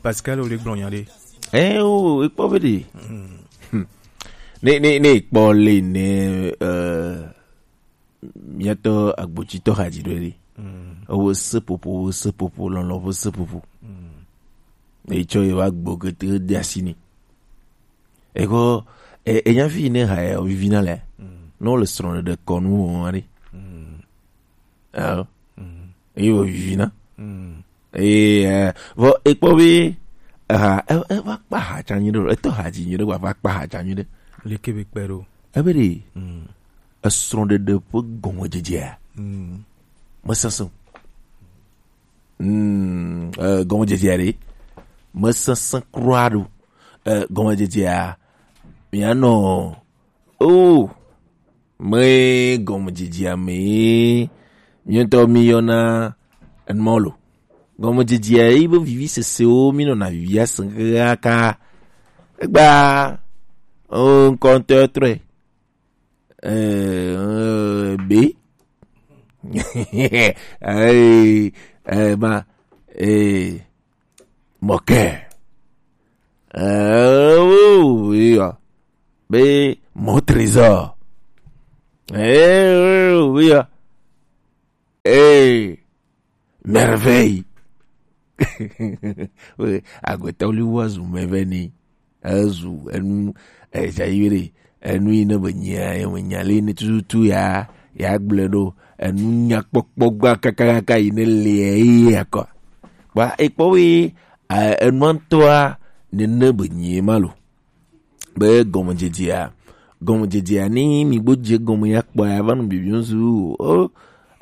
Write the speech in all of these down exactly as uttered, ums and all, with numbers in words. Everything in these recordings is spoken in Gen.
Pascal, o le gblɔ nya ɖe. Ɛ o, ekpɔ be ɖe. Ne ne ne ekpɔ le ne, eh, miatɔ agbotitɔ haji ɖo ɖe. Ewo sepopo, wo sepopo, lɔlɔ wo sepopo. Etsɔ ye wa gbo kete de asi ni. Eko, e, enya fi ne ha ya vivi na le. No le srɔ̃ ɖe kɔnu o ri. Ah. Eye wo vivi na. Eye, eh, vɔ ekpɔ be, ha, e, e va kpa ha tsa nyuie ɖe, etɔ ha dzi nyuie ɖe, va kpa ha tsa nyuie ɖe. Leke be kpe ɖo. Ebe ɖe, esrɔ̃ɖeɖe ƒe gɔmedzedzea, mesesẽ o. Mm, eh, gɔmedzedzea ɖe, mesesẽ kura ɖo. Eh, gɔmedzedzea, mianɔ, oh, me gɔmedzedzea me, miɔtɔ miyɔna enumɔ lo. Gɔmedzedzea yi be vivi sesewo, minɔna vivi asẽ kaka. Egba, oh, ŋkɔntɔ trɔe. Eh, eh, be. Eh, eh, ma, eh, mɔkɛ. Eh, oh, iya. Be, mon trésor. Eh, oh, iya. Eh, merveille. We, agbetɔ li wa zu mɛ vɛ ni. Ezu enu, eh, dza yi ɖe. Enu yi ne be nyia, ye me nya le ne tututu ya, ya gblẽ ɖo. Enu nyakpɔkpɔ gba kakakaka yi ne le ye akɔ. Kpa ekpɔ we, eh, enua ŋutɔa nene be nyie ma lo. Be gɔmedzedzea, gɔmedzedzea, ni mi gbo dze gɔme ya kpɔ ya va nu bibi ŋsu, o,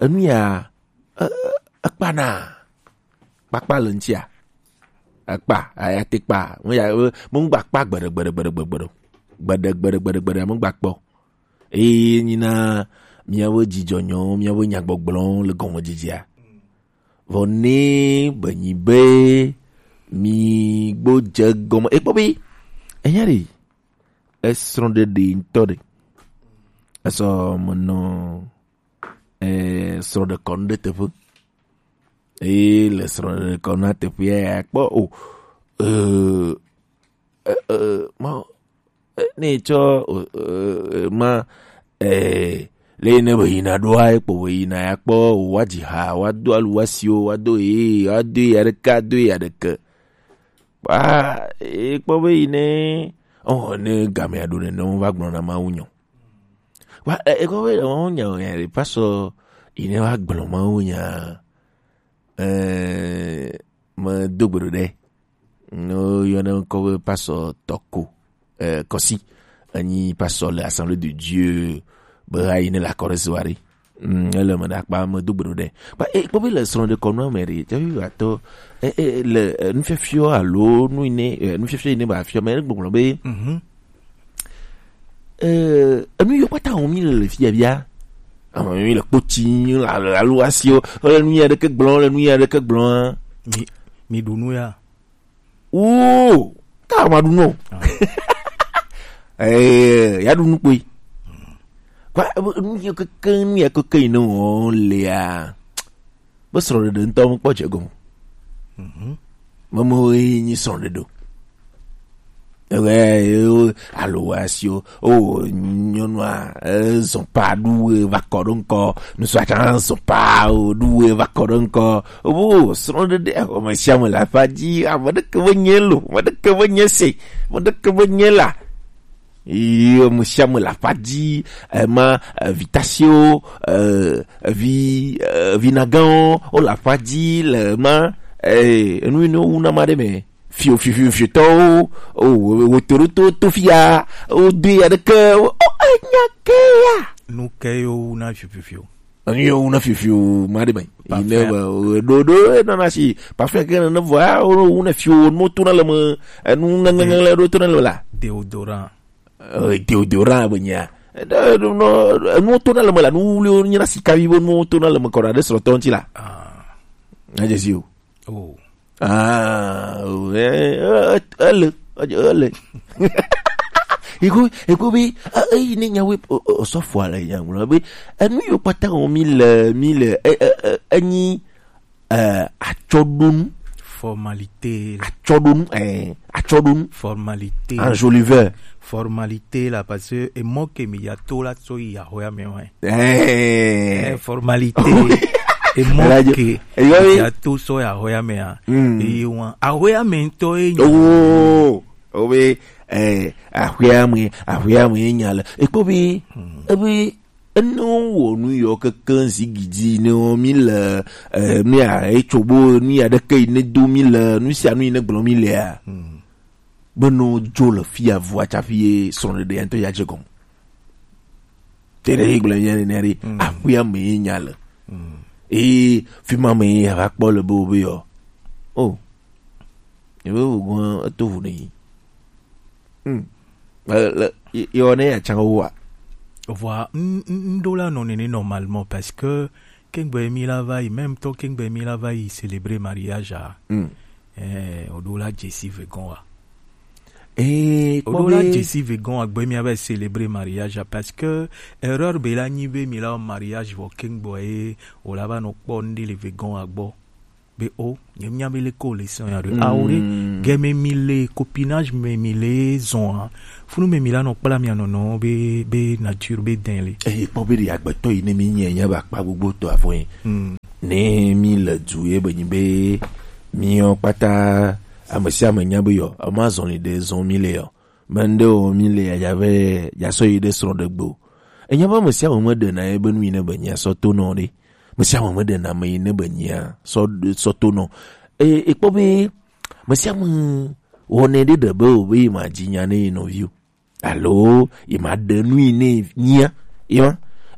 enu ya, e, e, ekpana. Kpakpa le ŋutia. Ekpa, aya te kpa. Mo ya, e, mo ŋgba kpa gbeɖe, gbeɖe, gbeɖe, gbeɖe, gbeɖe. Gbeɖe, gbeɖe, gbeɖe, gbeɖe, mo ŋgba kpɔ. Eye nyina miawo dzidzɔ nyɔ, miawo nyagbɔgblɔ le gɔmedzedzea. Vɔ ne be nyi be mi gbo dze gɔme. Ekpɔ be, enya ɖe, esrɔ̃ɖeɖe ŋutɔ ɖe. Esɔ menɔ, eh, srɔ̃ɖekɔnu ɖe teƒe. Eye le srɔ̃ɖekɔnua teƒea ya kpɔ o. Eh, eh, eh, ma, eh, ne tsɔ, eh, eh, ma, eh, le yi ne be yina ɖoa, ekpɔ be yina ya kpɔ o, wa dzi ha, wa do alu, wa siwo, wa do ye, wa do ye aɖeke, do ye aɖeke. Wa, ekpɔ be yi ne, oh, ne gamea ɖo nene, wo va gblɔ na Mawu nyɔ. Wa, e, ekpɔ be, oh, nya, nya, pasɔ, yi ne va gblɔ Mawu nya, eh, me do gbe ɖo ɖe. No yɔna ŋkɔ be pasɔ Tɔko, eh, Kɔsi. Enyi pasɔ le Assemblée de Dieu be ayi ne la kɔresi wa ɖe. Mm, ele me ɖe akpa me do gbe ɖo ɖe. Ba, e, kpɔ be le srɔ̃ɖekɔnua me ɖe, tsafi va tɔ, e, e, le, e, nufiafia alo nu yi ne, e, nufiafia yi ne ba fia me, gbɔgblɔ be, eh, enu yiwo kpata wɔm mi le le fia bia. Ame mi le kpotsi, la, la, alo asiwo, le nu ya ɖeke gblɔ, le nu ya ɖeke gblɔ. Mi, mi ɖu nu ya. Oo, ta ma ɖu nu. Eh, ya ɖu nu kpoi. Kwa, e, nu ya keke, nu ya keke yi ne wɔm lea. Be srɔ̃ɖeɖe ŋutɔ mekpɔ dze egɔme. Memewo ye nyi srɔ̃ɖeɖe o. Ewɛ, o, alo wa si o, o, nyɔnua, e, zɔn pa ɖu e va kɔ ɖo ŋkɔ, nusua tsa zɔn pa o ɖu e va kɔ ɖo ŋkɔ. O, srɔ̃ɖeɖe, o, me sia me le aƒa dzi, ame ɖeke be nye lo, ame ɖeke be nye se, ame ɖeke be nye la. Yi ame sia ame le aƒa dzi, ema, eh, vi tasiwo, eh, vi, eh, vinagãwo, wo le aƒa dzi le ema, eh, enu yi ne wowu na ma ɖe me. Fio, fio, fio, fiotɔwo, o, wo, wo to ɖo to, to fia, wo do ya ɖeke, o, o, enya ke ya. Nu ke yo wu na fio, fio, fio. Enu yewo na fifiu ma ɖe me. Yi ne be, o, ɖo, ɖo, e nana si, parfum ke ne vɔ, a, o, o, ne fiu, nu to na le me, enu ŋeŋeŋe le ɖo to na le me la. Déodorant. Eh, déodorant be nya. Ɖe, ɖe, no, enu to na le me la, nu wuliwo nye na sika vi be nu to na le me kɔ ɖe srɔ̃tɔ ŋuti la. Ah. Na dze si o. Oh. Ah, oh, eh, eh, eh, ele, eh, ele. Ego, ego be, eh, eh, ne nyawe, o, o, osɔfo ale nyagblɔ be, eh, nu yiwo kpata wɔm mi le, mi le, eh, eh, eh, enyi, eh, atsɔɖonu. Formalité. Atsɔɖonu, eh, atsɔɖonu. Formalité. Enjoliveur. Formalité la, parce que emɔ ke mi ya to la so yi ahoya me wa. Eh. Eh, formalité. Emɔ ke mi ya to so yi ahoya me a. Mm. Eye wa ahoya me ŋutɔ ye nya. Oh, oh, we, eh, ahoya me, ahoya me nya le. Ekpɔ be, hmm, ebe Ene wɔ nu yɔ keke zigidi ne wɔ mi le, eh, mi a etso bo nu ya ɖeke yi ne do mi le nu sia nu yi ne gblɔ mi lea. Hmm. Be no dzo le fia vua tsafi ye srɔ̃ɖeɖe ya ŋutɔ ya dze gɔme. Te ɖe yi gblɔ ya ne ɖe, hmm, aƒea me ye nya le. Hmm. Eye fi ma me ye ava kpɔ le be wo be yɔ. Oh. Ebe wo gɔn eto ʋu ne yi. Hmm. Le, le, ye, ye wɔ ne ya tsa wo wa. Vɔa, n, n, n ɖo la nɔ nene normalement parce que kengbe mi la va yi, même temps kengbe mi la va yi célébrer mariage a. Hmm. Eh, o ɖo la Jesse Vegon wa. Eh, o ɖo la Jesse Vegon wa gbe mi va yi célébrer mariage a parce que erreur be la nyi be mi la mariage vɔ kengbe e o la va nɔ kpɔ n ɖe le Vegon wa gbɔ. Be o, nye mia be le ko le sɔn ya ɖo. Mm. Awo ɖe, gɛmɛ mi le, copinage me mi le zɔn a. Funu me mi la nɔ kpla mia nɔnɔ be, be nature be dɛn le. Eye kpɔ be ɖe agbetɔ yi ne mi nye, nye ba kpa gbogbo tɔ afɔ yi. Mm. Ne mi le du ye be nyi be, mi yɔ kpata, ame sia ame nya be yɔ, ama zɔn li ɖe zɔn mi le yɔ. Mende o mi le ya vɛ ya sɔ yi ɖe srɔ̃ ɖe gbe o. Enya be ame sia ame meɖena ye be nu yi ne be nyia sɔ to nɔ ɖe. Ame sia ame meɖena ame yi ne be nyia sɔ, sɔ to nɔ. E, ekpɔ be ame sia ame wɔnɛ ɖe ɖe be o be yi ma dzi nya ne yi nɔvi o. Alo yi ma ɖe nu yi ne nyia. Yi ma.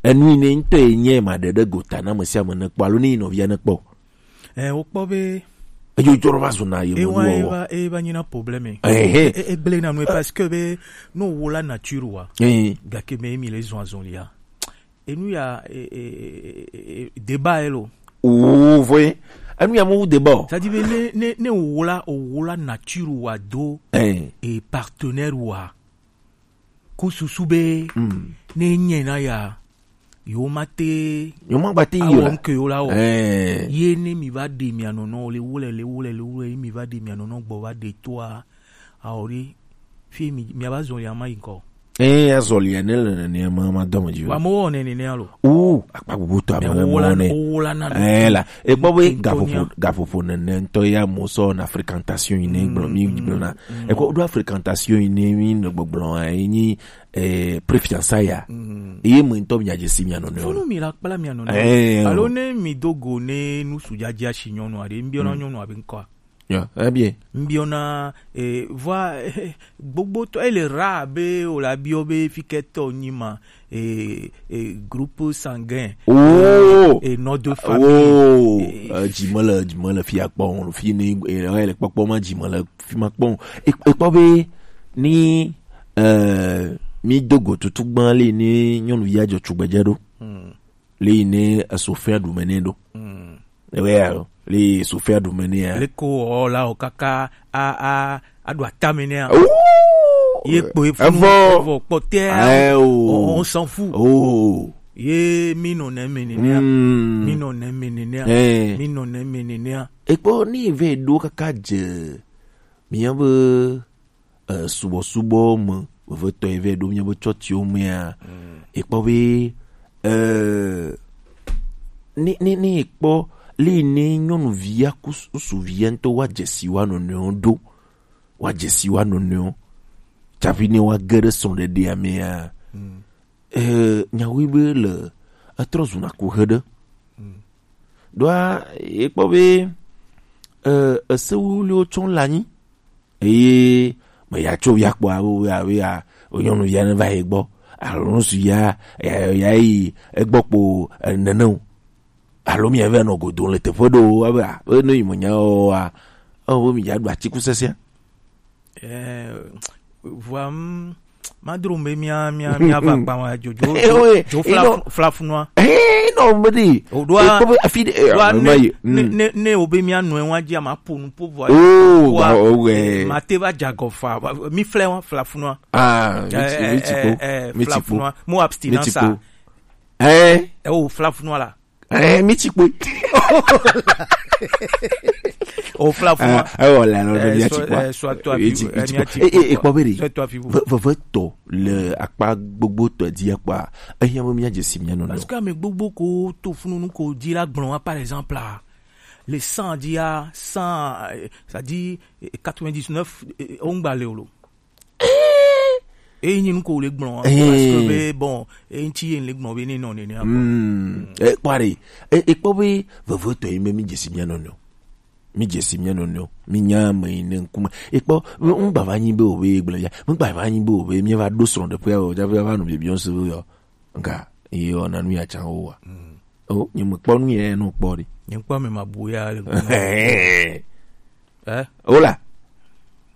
Enu yi ne ŋutɔ yi nyia yi ma ɖe ɖe gota na ame sia ame ne kpɔ alo ne yi nɔvia ne kpɔ. Eh, wokpɔ be edzo dzɔ va zuna ye ewa mo eva eva nyina problème. Eh, eh. E, e, egblẽ na nu parce que be no wola nature wa. Eh. Gake me mi le zɔn azɔn lia. Enu ya, e, e, e, e, e, débat elo. Oh, voyez. Enu ya mo débat. C'est-à-dire be ne, ne, ne wola, wola nature wa do, eh, e partenaire wa. Ku susu be, mm, ne nye na ya, yo ma te, yo ma gba te yi awɔ o la. Nke yo la wɔ. Eh. Ye ne mi va ɖe mia nɔnɔ le wole, le wole, le wole, ye mi va ɖe mia nɔnɔ gbɔ va ɖe toa, awɔ ɖe, fi mi, mi va zɔli ama yi ŋkɔ. Eh, azɔli ne le nene ma, ma dɔme dzi o. Wa mo wɔ nene ne alo. Oh, akpa gbogbo to ame mo wɔ ne. Wola na. Eh, la. Ekpɔ be gaƒoƒo, gaƒoƒo nene ŋutɔ ya mo sɔ na fréquentation yi ne gblɔ, mi gblɔ na. Ekpɔ ɖo fréquentation yi ne mi nɔ gbɔgblɔ a, yi nyi, eh, préfiance ya. Eye mo ŋutɔ mi adze si mia nɔnɔ. Funu mi la kpla mia nɔnɔ. Eh, alo ne mi do go ne nu su dzadza si nyɔnu aɖe, mbiɔna nyɔnu abe ŋkɔa. Ya, eh bien. Mbiɔna, eh, vɔa, eh, gbogbo tɔ, ele ra be o la biɔ be fikɛtɔ nyi ma. Eh, eh, groupe sanguin. Oh. Eh, nom de famille. Oh. Eh, eh, dzi me le, dzi me le fia kpɔ o, fi ni, eh, le kpɔkpɔ ma dzi me le fi ma kpɔ o. E, ekpɔ be ni, eh, mi do go tutu gban le ni nyɔnuvi adzɔ tugbedze ɖo. Hmm. Le yi ne esofia ɖu me ne ɖo. Hmm. Ewe ya, le sofia ɖu me ne ya. Le ko o la o kaka a, a, a ɖo atame nɛ a. Oh! Ye kpo ye funu, evɔ, evɔ kpɔtɛ a. Eh, oh. On, on s'en fout. Oh. Ye mi nɔ ne me nene a. Hmm. Mi nɔ ne me nene a. Eh. Mi nɔ ne me nene a. Ekpɔ ni ve ɖo kaka dze. Mi ya be, eh, subɔsubɔ me, vevetɔ ye vɛ ɖo mi ya be tsɔtiwo mea. Mm. Ekpɔ be, eh, ni, ni, ni ekpɔ li ne nyɔnuvi ya ku s-, suvi ya ŋutɔ wa dzesi wa nɔnɔewo ɖo. Wa dzesi wa nɔnɔewo. Tsafi ne wa ge ɖe srɔ̃ɖeɖea mea. Mm. Eh, nyawoe be le etrɔ zuna kuxe ɖe. Mm. Ɖoa, ekpɔ be, eh, esewuwuliwo tsɔ le anyi. Eye me ya tso ya kpɔ abo ya, ya, o nyɔnuvi ya ne va ye gbɔ. Alo nusu ya, ya, ya yi egbɔ kpo, eh, nene o. Alo mi ya va nɔ godo le teƒe ɖo, abe, ah, be ne yi me nya o, ah, o, be mi ya ɖu atikusesea. Eh, vɔa, mm, madro be mia, mia, mia va kpa wa, dzo, dzo, eh, dzo, oui, dzo fla, ino, fla funua. Eh, non, me di. O ɖoa, eh, ko be afi de, eh, ɖoa ne, ma yi, ne, mm, ne, ne o be mia nɔe wa dzi, ma po nu po vɔa. Oh, vɔa, wa, oh, ouais. Ma te va dza gɔ fa, va, mi flɛ wa, fla funua. Ah, mi ti, eh, mi ti ko, eh, eh, mi ti ko. Fla funua. Mo abstinence. Mi ti ko. Eh? Eh, o fla funua la. Eh, mi ti kpoe. O fla fún wa. Ah, ewɔ le alo Eh, be mía so- tsi kpɔa. Eh, soit toi Etsi- vivre, eh, etsi mía kpɔa. tsi Eh, eh, kpɔa. Ekpɔ be ɖe. Soit toi vivre. Ve- vevevitɔ le akpa gbogbo tɔ dzi kpɔa. Ehiã be mía dze si mía nɔnɔewo. Parce que ame gbogbo ko to fununu ko dzi la gblɔ wa, par exemple, ah, le cent dzi a, cent, eh, c'est-à-dire, eh, quatre-vingt-dix-neuf, eh, o ŋgba le o lo. Eyi nyi nu ko le gblɔ, eh, parce que be, bon, eyi ŋuti ye le gblɔ be ne nɔ nenea. Mm. Eh, kpɔ ɖe. Eh, eh, kpɔ be vevevitɔ yi me mi dze si mía nɔnɔewo. Mi dze si mía nɔnɔewo. Mi nya ame yi ne ŋkume. Ekpɔ, ŋgba va nyi be o be gblɔ ya. Ŋgba va nyi be o be mi va ɖo srɔ̃ ɖe ƒe o, ja va nɔ bibiɔ se be yɔ. Nga, yi yɔ na nu ya tsa o wa. Mm. O, nye me kpɔ nu ya no kpɔ ɖi. Nye kpɔ me ma bu ya le ŋkume. Eh? O la.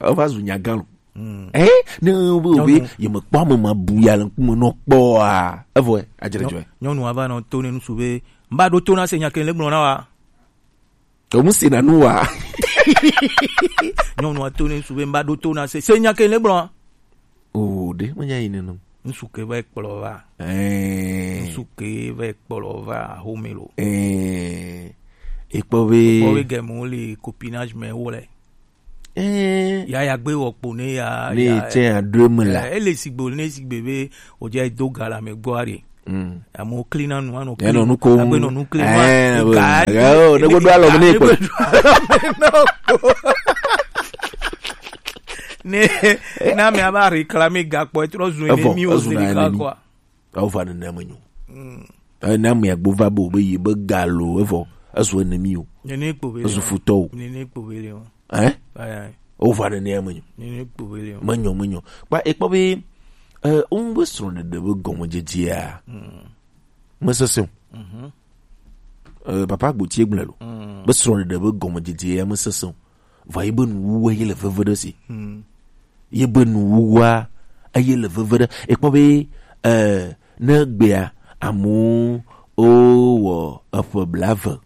O va zu nya gã lo. Mm. Eh, ne o be o be, Nyɔnu. Ye me kpɔ me ma bu ya le ŋkume no kpɔ a. Evɔ, eh, adjere Nyɔ- dzɔe. Nyɔnu ava nɔ to ne nusu be, mba ɖo to na se nya ke le gblɔ na wa. Ke mu si na nu wa. Nyɔnua to ne ŋsu be mba ɖo to na se. Se nya ke ne gblɔ. O, ɖe me nya yi ne no. Ŋsu ke va kplɔ va. Eh. Ŋsu ke va kplɔ va home lo. Eh. Ekpɔ be. Kpɔ be gɛmu le copinage me wo le. Eh. Ya ya gbe wɔ kpo ne ya. Ne ya- tse adre me la. Eh, ele sigbe ne sigbe be o dze do ga la me gbɔ ari. Mm. Amewo kli na nu, anɔ Ya nɔ nu kom. Agbe nɔ nu kli Eh, ma. Ga be- di- oh, ne gbe do alɔ me ne ne kpɔ. Gbe do alɔ me nɔ kpɔ. Ne, na me ava réclamer ga kpɔ, etrɔ zu Evɔ, ne mi o ezu na zeli ne ka mi. Quoi. Awo va nene me nyo. Mm. Eh, na me agbo va bo be yi be ga lo, evɔ, ezu ne mi o. Ne ne kpo be. Ezu futɔ o. Ne ne kpo be le o. Hein? Ayi, ayi. O va nene me nyo. Ne ne kpo be le o. Me nyo, me nyo. Kpa, ekpɔ be, eh, o ŋgbe srɔ̃ɖeɖe be gɔmedzedzea. Mm. Mesesẽ o. Mhm. Eh, papa Agbotie gblɔe lo. Mm. Be srɔ̃ɖeɖe be gɔmedzedze ya mesesẽ o. Vɔ ye be nuwuwu ye le veve ɖe si. Mm. Ye be nuwuwua eye le veve ɖe. Ekpɔ be, eh, ne gbea amewo o wɔ eƒe blaeve,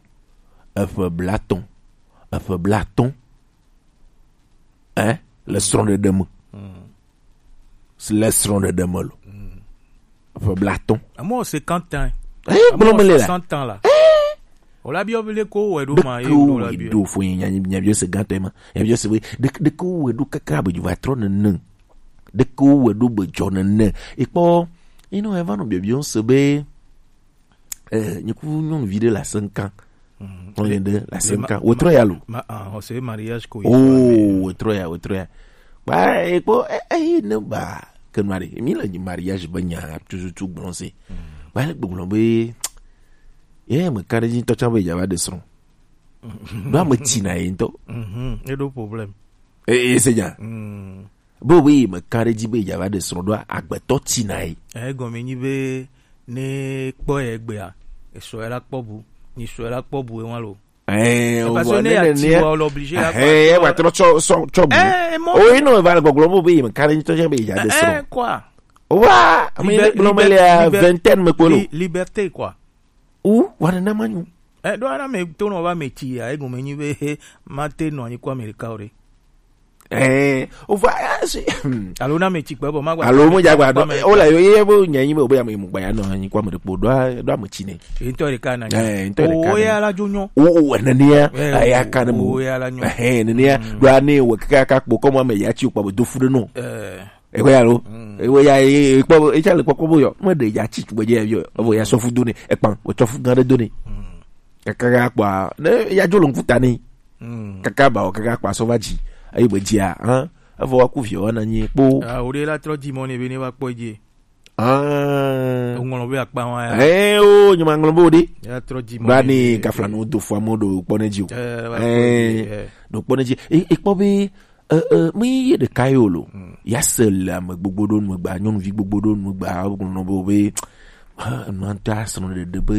eƒe blaetɔ̃, eƒe blaatɔ̃, eh, le srɔ̃ɖeɖe me. Mm. Le srɔ̃ɖeɖe me lo. Mm. Ƒe blaatɔ̃. Amewo cinquante ans. Eh, gblɔ me le la. Soixante ans la. Eh. O la biɔ be le ko wɛ ɖo ma ye Ɖeke wo wɛ ɖo fo nya, nya, nya biɔ se gãtɔ ma. Nya biɔ se be ɖeke, ɖeke wo wɛ ɖo kaka be va trɔ nene. Ɖeke wo wɛ ɖo be dzɔ nene. Ekpɔ, ino eva nɔ biɔ biɔ se be Eh, nye ku nyɔnuvi ɖe le Asenka. Mhm. Nyɔnu ɖe le Asenka. Wòtrɔ ya lo. Ma, ah, ɔse mariage ko. Oh, wòtrɔ ya, wòtrɔ ya. Ba, ekpɔ, eh, eh, ne ba, ke nua ɖe. Mi le mariage be nya tututu gblɔ se. Mhm. Ba, le gbɔgblɔ be, ye me ka ɖe dzi ŋutɔ tsã be dza va ɖe srɔ̃. Mhm. Ɖo ame tsi na ye ŋutɔ. Mhm. Eɖo problème. Eh, eh, se nya. Mhm. Be wo be yi me ka ɖe dzi be dza va ɖe srɔ̃ ɖoa, agbetɔ tina yi. Egɔme nyi be ne kpɔ ye gbea, esɔ ye la kpɔ bu, ni sɔ ye la kpɔ bu ewa lo. Eh, parce que ne ya ti wa, le obligé la kpɔ. Eh, wa trɔ tsɔ, tsɔ, tsɔ bu. Eh, mɔ. O, ino va le gbɔgblɔ mo be yi me ka ɖe ŋutɔ dzi be dza ɖe srɔ̃. Eh, quoi. Wa, ame yi gblɔ me le vingtaine me kpolo. Liberté, quoi. Ou, wa nene ma nyo. Eh, ɖo ana me to nɔ va me tsi ya, egɔme nyi be, ma te nɔ anyi kɔ Amerika o ɖe. Eh, o va, eh, si, hmm. Alo na me tsi kpe bɔ, ma gba. Alo mo dza gba, o la yo, ye bo nya nyi be, o be ya me mu gba ya nɔ anyi kɔ Amerika, ɖo, ɖo ame tsi ne. E ŋutɔ ɖeka na. Eh, ŋutɔ ɖeka. O ya la dzo nyɔ. O, o, nene ya, eh, ya ka ne mo. O ya la nyɔ. Eh, nene ya, ɖo ane wo kaka kpɔ, kɔmɔ ame ya tsi o kpɔ be do fu ɖe nɔ. Eh. Ekpɔ ya lo. Mm. Ewe ya, e, e, kpɔ, e tsa le kpɔkpɔ bo yɔ. Me ɖe ya tsi tugbe dze ya yɔ. Evo ya sɔ fu do ne. Ekpan, o tsɔ fu gã ɖe do ne. Mm. Kaka ya kpɔa, ne ya dzo le ŋkuta ne. Mm. Kaka ba o kaka kpɔ asɔ va dzi. Ayi be dzia, hã? Evo wa ku viɔ wa na nyi kpo. Ah, o ɖe la trɔ dzi mɔ ne be ne va kpɔ dzi. Ah. O ŋlɔ be akpa wa ya. Eh, o, nyuma ŋlɔ bo ɖe. Ya trɔ dzi mɔ. Ba ne kafla no do fo amo do kpɔ ne dzi o. Eh, va kpɔ dzi, eh. Do kpɔ ne dzi. E, e kpɔ be Eh, eh, mi ye ɖeka ye o lo. Mm. Ya se le ame gbogbo ɖo nu gba, nyɔnuvi gbogbo ɖo nu gba, wo nɔ be, be, ah, nua ŋutɔ asrɔ̃ ɖeɖe be,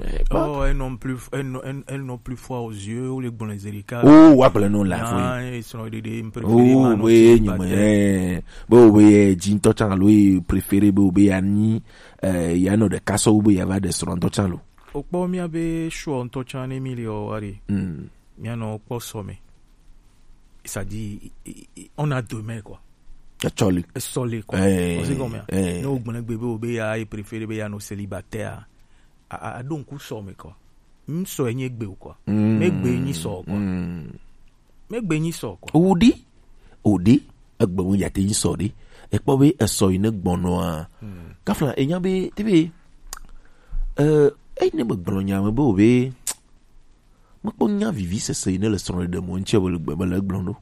eh, oh, elles n'ont plus, elles n'ont, elles, elles n'ont plus foi aux yeux, ou les bons les écarts. Oh, wa ple no la fo. Ah, elles sont des, des préférées, oh, ma, be nyume, eh, be o be ye dzi ŋutɔ tsã alo ye préféré be o be ya nyi, eh, ya nɔ ɖeka sɔ wo be ya va ɖe srɔ̃ ŋutɔ tsã lo. O kpɔ mía be srɔ̃ ŋutɔ tsã ne mi le o wa ɖe. Mm. Mía nɔ kpɔ sɔ me. C'est-à-dire, i, i, i, on a deux mains, quoi. Etsɔ li. Etsɔ li, quoi. Eh, on sait combien. Eh. Ne o gblẽ gbe be o be ya, e préféré be ya nɔ célibataire. A, a, a ɖo ŋku sɔ me, quoi. Ŋsɔ enye gbe o quoi. Mm. Me gbe nyi sɔ o quoi. Mm. Me gbe nyi sɔ o quoi. Odi, odi, egbe wo yate nyi sɔ de. Ekpɔ be esɔ yi ne gbɔnɔa. Mm. Kafla enya be, te be, eh, eyi ne me gblɔ nya me be o be, mekpɔ nya vivi sese yi ne le srɔ̃ɖeɖe mo ŋtsɛ be le gbe, be le gblɔ ɖo.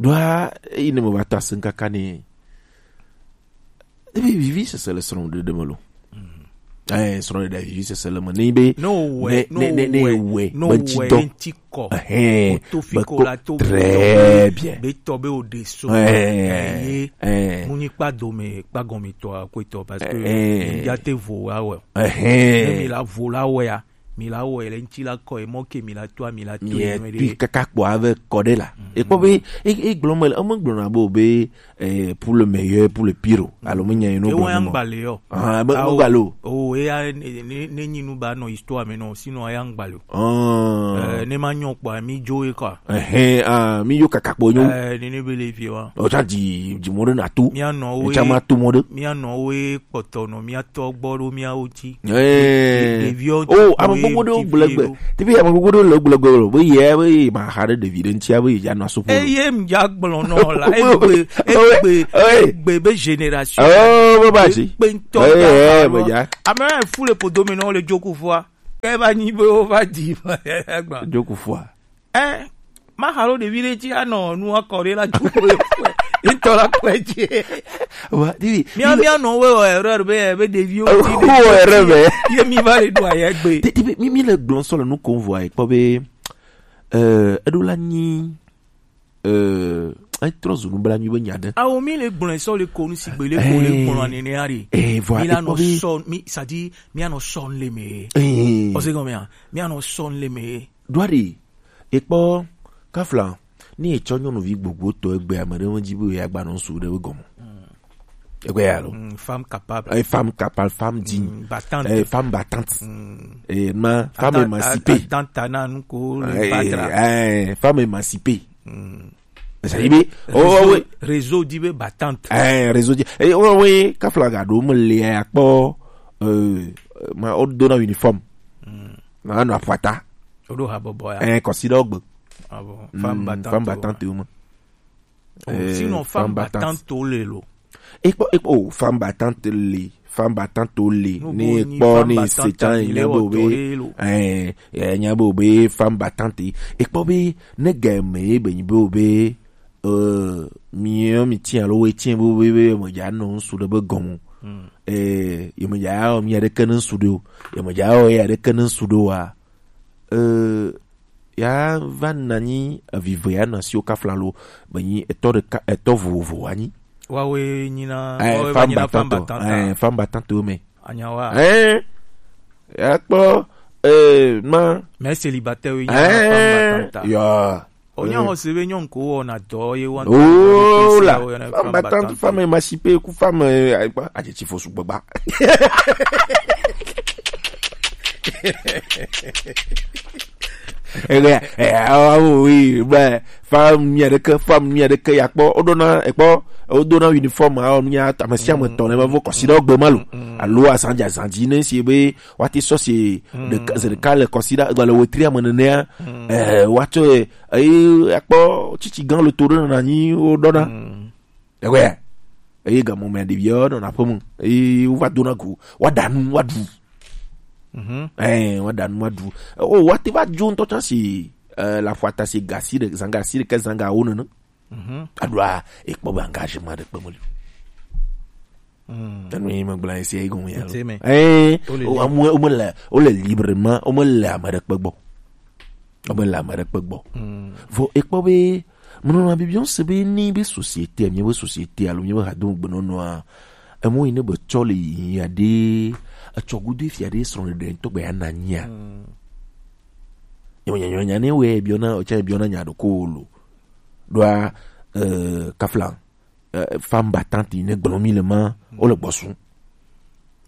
Ɖoa, eyi ne me va ta se kaka ne. Ebe vivi sese le srɔ̃ɖeɖe me lo. Eh, srɔ̃ɖeɖe vivi sese le me. Ne be, no ne, ne, ne, ne we, we, no be ŋuti we, dɔ. Ŋuti kɔ. Ehɛn, o to fi be ko ko la to très bien. Be tɔ be o de so. Eh, eh, eh. Mu nyi kpa dome, kpa gɔme tɔ, akwe tɔ, parce que eh, eh, ya te vo la we. Ehɛn. Ne mi la vo la we ya. Mi la wɔ le ŋuti la kɔ, mɔ ke mi la to, mi la to. Mi e tui kaka kpɔ ave kɔ ɖe la. Mm. Ekpɔ be, e, e gblɔ me, eme gblɔ na bo be, eh, pour le meilleur, pour le pire. Alo me nya ino. E gblɔ wa ne mo. Ngba le yo. Ah, be, ah, ngba lo. O, e ya, ne, ne, ne nyi nu ba nɔ histoire me nɔ, sinon a ya ngba le yo. Ah. Eh, ne ma nyɔ kpɔ, mi jo e quoi. Ehɛn, ah, mi yo kaka kpɔ nyo. Eh, ne, ne be le vie wa. O tsa di, di mo ɖe na to. Mi a nɔ o. E tsa ma to mo ɖe. Mía nɔwo ye kpɔtɔ nɔ mía tɔ gbɔ ɖo míawo dzi. Ɛɛ. Ɖe-, ɖeviwo. Oh, ame gbogbo ɖewo gblɔ gbe. Ɖo. Teƒe ame gbogbo ɖewo le gblɔ gbe lo. Be yɛ, be yɛ ma xa ɖe ɖevi ɖe ŋutia, be yɛ dza nɔ aso ƒo lo. Eye m dza gblɔ nɔ la, egbe, egbe, egbe be génération. Oh, be ba dzi. Kpe ŋutɔ. Ɛɛ, be dza. Ame fu le podo me nɔ le dzoku fua. Ke va nyi be wo va di. Dzoku fua. Eh, ma halo ɖevi ɖe dzi anɔ nua kɔ ɖe la dzoku. Ŋutɔ la kɔe dzi. Wa, ɖevi. Mía, mía nɔ wo wɔ erreur be, be ɖeviwo ti ɖe. Wo wɔ erreur be. Ye mi va le ɖo ayɛ gbe. Ɖe, ɖe, mi, mi le gblɔ sɔ le nu kom vɔa, kpɔ be, eh, eɖo la nyi, eh, etrɔ zu nublanui be nya ɖe. Awo mi le gblɔ sɔ le ko nu si gbe le ko le gblɔ nene ari. Eh, vɔa, mi la nɔ sɔ, mi, c'est-à-dire, mi anɔ sɔ le me. Eh. Ose gɔmea, mi anɔ sɔ le me. Ɖoa ɖe, ekpɔ kafla, ni etsɔ nyɔnuvi gbogbo tɔ egbe ame ɖe medzi be yeagba nɔ ŋsu ɖe be gɔme. Mm. Egbe ya lo. Mm, femme capable. Eh, femme capable, femme digne. Mm, battante. Eh, femme battante. Mm. Eh, ma, femme émancipée. Attends, attends, na nu ko le eh, batra. Eh, femme émancipée. Mm. Esa yi be, oh, oh, oui. Réseau di be battante. Eh, réseau di. Eh, oh, oui, kafla ga ɖo me le ya kpɔ, euh, ma, o do na uniforme. Mm. Na no aƒata. Woɖo habɔbɔ ya. Eh, kɔsi ɖe gbe. Ah bon. Mm, femme battante, femme battante wo ma. Oh, eh, sinon, femme battante wo le lo. Ekpɔ, ekpɔ, oh, femme battante le, femme battante wo le. Ne ekpɔ ne se tan nya bo be. Eh, eh, nya bo be femme battante. Ekpɔ be ne ga me be nyi bo be, eh, mi, mi tiens lo we tiens bo be, be, me ja no su de be gomo. Hmm. Eh, ye me ja o mi de ken su de o. Ye me ja o ya de ken su de wa. Eh, ya va nanyi evive ya nɔ asiwo kafla lo, be nyi etɔ ɖeka, etɔ vovovo anyi. Wawe nyina, eh, wawe femme battante, femme battante. Eh, femme battante wo me. Anyawa. Eh, ya kpɔ, eh, ma. Mais célibataire wo nyina femme battante. Ya. Onya ho se be nyɔn ko wɔ na dɔ ye wa. Oh la, femme battante, femme émancipée, ku femme, eh, adjectif fo sugbagba. Ege, eh, ah, oui, ben, femme, mi aɖeke, femme, mi aɖeke, ya kpɔ, woɖona, ekpɔ, wodona uniforme, ah, mi ame sia ame tɔ ne va vo kɔsi ɖe gbe ma lo. Mm. Alo azan dzi, azan dzi, ne si be, woate sɔ si ɖeka, ze ɖeka le kɔsi ɖe, gba le wetri ame nenea, eh, woatsɔ, eye akpɔ tsitsi gã le to ɖe nɔ anyi, woɖona. Mm. Ewɛ. Eye gamɔ me ɖeviawo nɔna aƒe me. Eye wova dona go. Woaɖa nu, woaɖu. Mhm. Ɛ, woaɖa nu, woaɖu. O, woate va dzo ŋutɔ tsã si, ɛ, le aƒata si gasi ɖe, zanga si ɖeke, zanga wo nene. Mhm. Aɖoa, ekpɔ be engagement ɖe kpe meli. Mm. Enu yi megblɔ esi yi gɔme ya lo. Ŋuti me. Ɛ, wole o, libre. Amewo, womele, wole librement, womele ame ɖe kpe gbɔ. Ebe le ame ɖe kpe gbɔ. Mm. Vɔ ekpɔ be, menɔna bibiɔ se be ni be société, mi be société alo mi be hadome gbenɔnɔa, emo yi ne be tsɔ le yi aɖe, etsɔ gudo fia ɖe srɔ̃ ɖeɖe ŋutɔ gbe ya na nyia. Mm. Nyɔ, nyɔ, nyɔ, nya ne wɛ biɔna, otsa biɔna nya ɖo ko lo. Ɖoa, eh, kafla, eh, femme battante yi ne gblɔ mi le ma, mm, o le gbɔsu.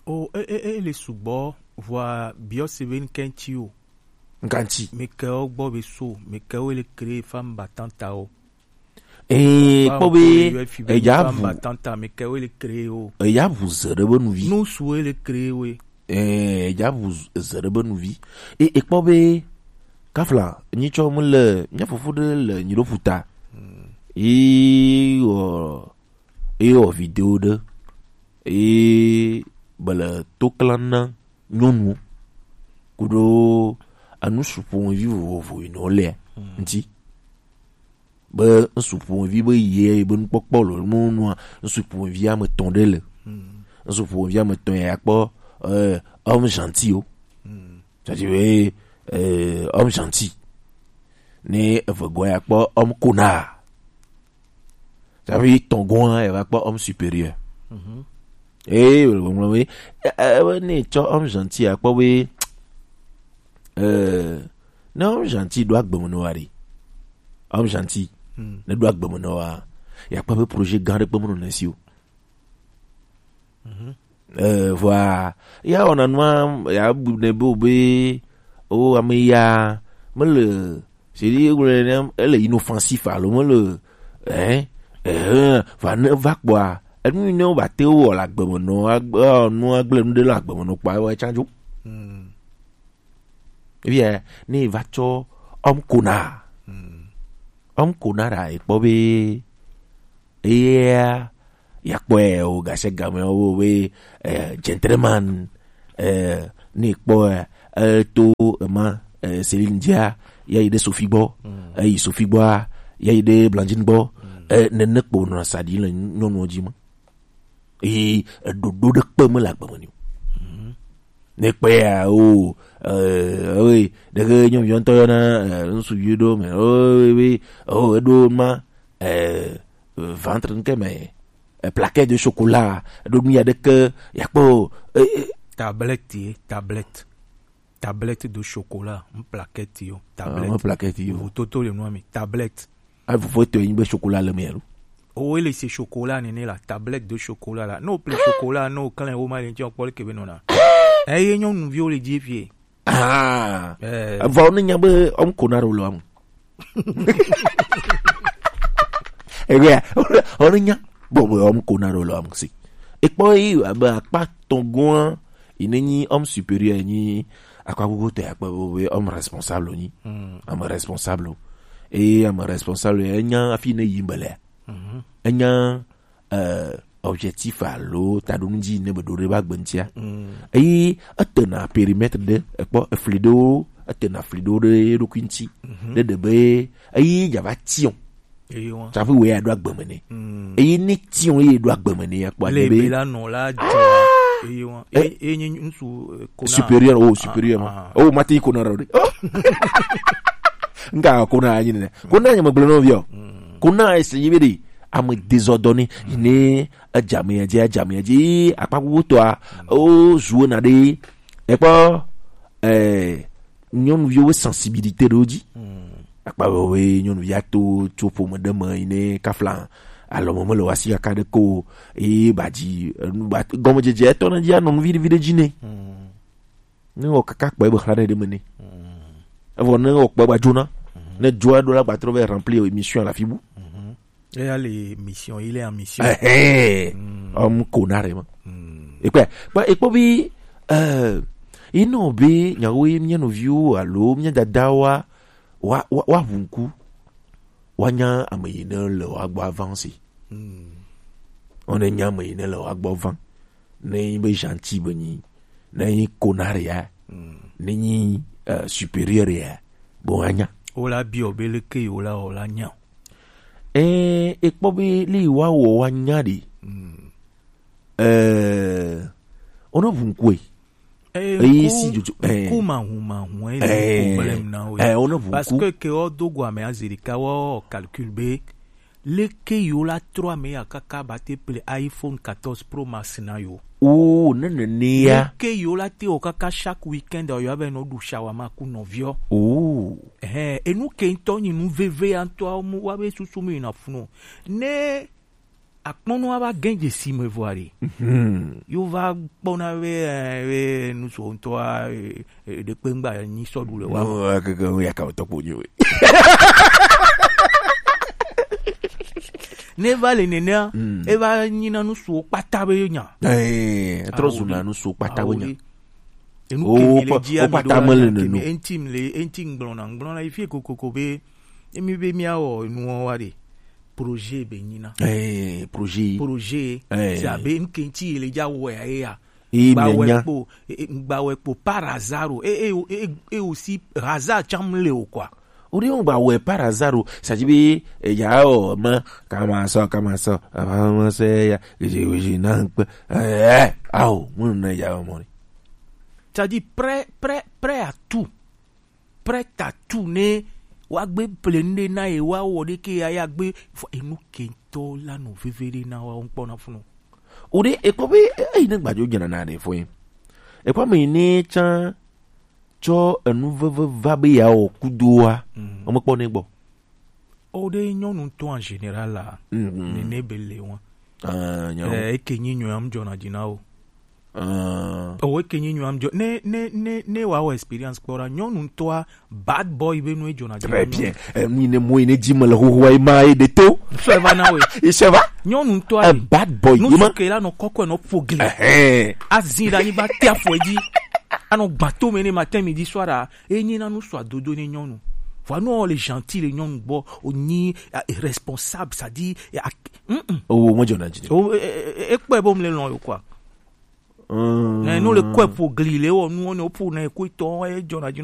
O, e, e, e le sugbɔ, vɔa biɔ se be nkɛntsi o. Nkantsi. Mekɛwo gbɔ be so, mekɛwo le créer femme battante o. Ee, kpɔ be, eya vu. Femme battante, mekɛwo le créer o. Eya vu ze ɖe be nuvi. Nusu le créer we. Eh, dza bu z-, ze ɖe be nuvi. E, e kpɔ be, kafla, nyitsɔ mu le, mía fofo ɖe le nyi ɖo ƒuta. Ye wɔ, ye wɔ video ɖe. Ye be le to klan na nyɔnu. Kuɖo enu suƒomevi vovovo yi ne wole ŋuti. Be ŋsu ƒomevi be ye be nukpɔkpɔ lo mo nua, ŋsu ƒomevi ame etɔ̃ ɖe le. Ŋsu ƒomevi ame etɔ̃ ya kpɔ, euh, homme gentil o. C'est-à-dire, euh, homme gentil. Ne eve gɔ̃ ya kpɔ homme connard. Tsaƒe tɔ̃ gɔ̃a, eva kpɔ homme supérieur. Ee, wòle gbɔgblɔm be, e, e, e, ne etsɔ homme gentil akpɔ be, euh, ne homme gentil ɖo agbe me nɔ wa ɖe. Homme gentil, ne ɖo agbe me nɔ wa, ya kpɔ be projet gã ɖe kpe me nɔ nesi o. Euh, vɔa, ya wɔna nua, ya bu ne be o be, o ame ya, mele, c'est-à-dire, wòle ne, ele inoffensif alo mele, hein, hein, va ne va kpɔa, enu yi ne wobate wɔ le agbe me nɔ, agbe, nu agble nu ɖe le agbe me nɔ kpɔa, ewɔe tsã dzo. Ebia, ne va tsɔ homme connard. Homme connard a, ekpɔ be, eya, yakpɔe o, gase game o, we, eh, gentleman, eh, ne kpɔ, eh, eh, to, ema, eh, Céline Dia, ya yi ɖe Sophie gbɔ, eh, yi Sophie gbɔa, ya yi ɖe Blandine gbɔ, eh, nene kpo nɔ sa ɖi le nyɔnuwo dzi ma. Eye eɖoɖo ɖe kpe me le agbe me ni o. Ne kpe ya o, eh, eh, ɖeke nyɔnuvi ŋutɔ yɔna, eh, ŋsu yi ɖo me, o, we, o, eɖo ma, eh, ventre ŋke me, eh, plaquette de chocolat, eɖo nu ya ɖeke, yakpɔ o, eh, eh. Tablette ye, tablette. Tablette de chocolat, n plaquette yo, tablette. Ah, n plaquette yo. Vototo le nua mi, tablette. A vovo to yin be chocolat le me lo. O, ele se chocolat nene la, tablette de chocolat la. No ple chocolat, no klein o ma le nti okpɔ le kebe nona. Eh, ye nyɔnuviwo le dzi fie. Ah. Eh. Vɔ ne nya be homme connard le am. Ewea, o ne nya. Bon, bon, homme connard le am si. Ekpɔ yi abe akpa tɔ̃ gɔ̃a, yi ne nyi homme supérieur, nyi akpa gbogbo tɔ akpa gbogbo be homme responsable nyi. Ame responsable. Eye ame responsable, enya afi ne yi be le. Enya, euh, objectif alo taɖonu dzi ne be ɖo ɖe ba gbe ŋutia. Eye etena périmètre ɖe, ekpɔ efli ɖewo, etena fli ɖewo ɖe eɖokui ŋuti. Ne ɖe be, eye dza va tiɔ̃. Eye wa. Tsaƒe wòe aɖo agbe me nɛ. Eye ne tiɔ̃ ye ɖo agbe me nɛ, akpɔ le agbe be be la nɔ la dzɔ. Eye wa. Eh. Eye, eye nye ŋsu, eh, kona. Supérieur, oh, supérieur, ma. Ah. Oh, mate yi kona ɖo ɖe. Oh. Nga kona anyi ne. Kona nye megblɔ nɔ viɔ. Kona ese yi be ɖe. Ame désordonné. Yi ne edzame ya dzi, edzame ya dzi. Akpa gbogbo tɔa, o, zuwe na ɖe. Ekpɔ, eh, nyɔnuviwo sensibilité ɖewo dzi. Akpa woe nyɔnuvi ato tso ƒome ɖe me yi ne kafla alɔ me mele wasi kaka ɖe ko, eye ba dzi, enu ba, gɔmedzedze etɔ ne dzi anɔ nu viɖe viɖe dzi ne. Ne wɔ kaka kpɔ ebe xla ɖe ɖe me ne. Evɔ ne wɔ kpɔ ba dzona. Ne dzoa ɖo la gbatrɔ be remplir émission la fibu. Eya le mission, il est en mission. Ehe. Om kona re ma. Ekpe, kpa ekpo bi, eh, ino bi nyawo ye mia noviwo alo mia dadawa wa, wa, wa hunku. Wa nya ame yi ne le wa gbɔ avancer. One nya ame yi ne le wa gbɔ van. Ne yi be gentil be nyi. Ne yi connard ya. Ne yi, euh, supérieur ya. Bon, anya. Wola biɔ be leke yi wola wɔ la nya. Eh, ekpɔ be li wa wɔ wa nya de. Eh, ono bunkwe. Eh, eyi nku, si jojo, eh. Nku mahu mahu, eh, eh, problème na wo. Eh, ono bunku. Parce que ke o dogo ame azirika wo calcul be. Leke yo la trɔ ame ya kaka ba te ple iPhone quatorze Pro Max na yo. Oh, ne nene ya. Leke yo la te o kaka chaque week-end yo ave no du shawarma ku nɔviɔ. Oh. Eh, enu ke ŋutɔ nyi nu veve ya ŋutɔ mu wa be susu mi na funu. Ne akpɔnɔ ava gɛn dzesi me vɔ aɖe. Yo va kpɔna be, eh, be nusu ŋutɔa, eh, eh, ɖekpe ŋgba nyi sɔ ɖu le wa. No, akeke wo ya ka tɔ kpo nyi we. Ne va le nenea, eva nyina nusuwo kpata be nya. Eh, trɔ zuna nusuwo kpata be nya. Awo ɖe. Enu ke mi le dzi ami ɖo la, ke mi enti mi le enti ŋgblɔna ŋgblɔna yi fie kokoko be emi be miawɔ enuwo wa ɖe, projet be nyina. Eh, projet. Projet. Eh. C'est abe ŋke ŋti yi le dza wɔ ya ye ya. Ye gba wɛ kpo, e, e, gba wɛ kpo par hasard o. E, e, e, e, e aussi hasard tsam le o quoi. O ɖe ŋgba wɛ par hasard o. Sa dzi be eya o ma kama sɔ kama sɔ. Ama se ya. Gezi gezi na ŋkpe. Eh, eh, ao, mo na ya mo ni. C'est-à-dire prêt, prêt, prêt à tout. Prêt à tout ne wa gbe ple nu ɖe na ye wa wɔ ɖe ke ya ya gbe fɔ enu ke ŋtɔ la nɔ veve ɖe na wa ŋkpɔ na funu. O ɖe ekpɔ be eyi ne gbadzo dzena na ɖe fɔ ye. Ekpɔ me ne tsa tsɔ enu veve va be ya wɔ kudoa. Mm. Ɔmekpɔ ne gbɔ. O ɖe nyɔnu ŋtɔ en général la. Mm, mm. Ne ne be le wa. Ah, nyɔnu. Eh, eke nyi nyɔ am dzɔna dzi na o. Ah. O eke nyi nyɔ am dzɔ. Ne ne ne ne wa wɔ experience kpɔ ɖa nyɔnu ŋtɔa bad boy be nu e dzɔna dzi na. Très bien. Eh, mi ne mo ne dzi me le hoho ai ma e de to. So e va na we. E se va. Nyɔnu ŋtɔa. Un bad boy. Nu ke la nɔ kɔkɔ nɔ ƒo gli. Eh. Azi ɖe anyigba te afɔ dzi. Anɔ gbato me ne matin midi soir a. Enyi na nu sɔ adodo ne nyɔnu. Vɔ nu le gentil le nyɔnu gbɔ, o nyi eh, responsable, c'est-à-dire eh, ak- mm, mm. O mo dzɔna dzi. O e- e- e- ekpɔe bo mle lɔn yo quoi. Mm. Ne no le kɔe ƒo gli le wɔ nuwo ne o ƒo na e ko tɔ e dzɔna dzi